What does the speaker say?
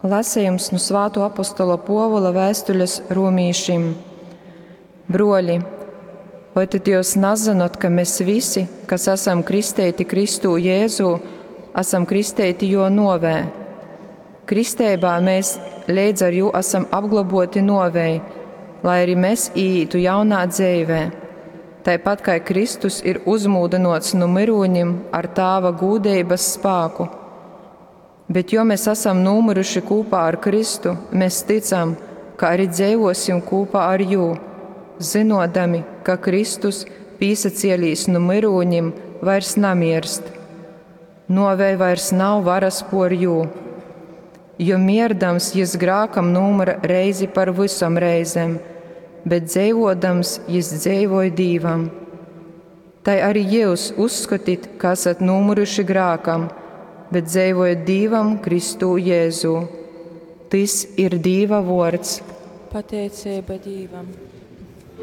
Lasejums nu Svātuo apostola Puovula vēstules romīšim. Bruoļi, voi tad jūs nazynot, ka mēs visi, kas esam kristeiti Kristū Jēzū, esam kristeiti juo nuovē? Kristeibā mēs leidz ar jū esam apgloboti nuovei, lai arī mēs īītu jaunā dzeivē. Taipat kā Kristus ir uzmūdynuots nu myrūņim ar Tāva gūdeibas spāku. Bet jo mēs esam nūmyruši kūpā ar Kristu, mēs ticam, ka arī dzeivosim kūpā ar jū, zynodami, ka Kristus, pīsacielīs nu myrūņim, vairs namierst. Nuovei vairs nav varas por jū. Jo mierdams jis grākam nūmyra reizi par vysom reizem, bet dzeivodams jis dzeivoj Dīvam. Tai arī jūs uzskotit, ka esat nūmyruši grākam, bet dzeivojat Dīvam Kristū Jēzū. Tys ir Dīva vuords. Pateiceiba Dīvam.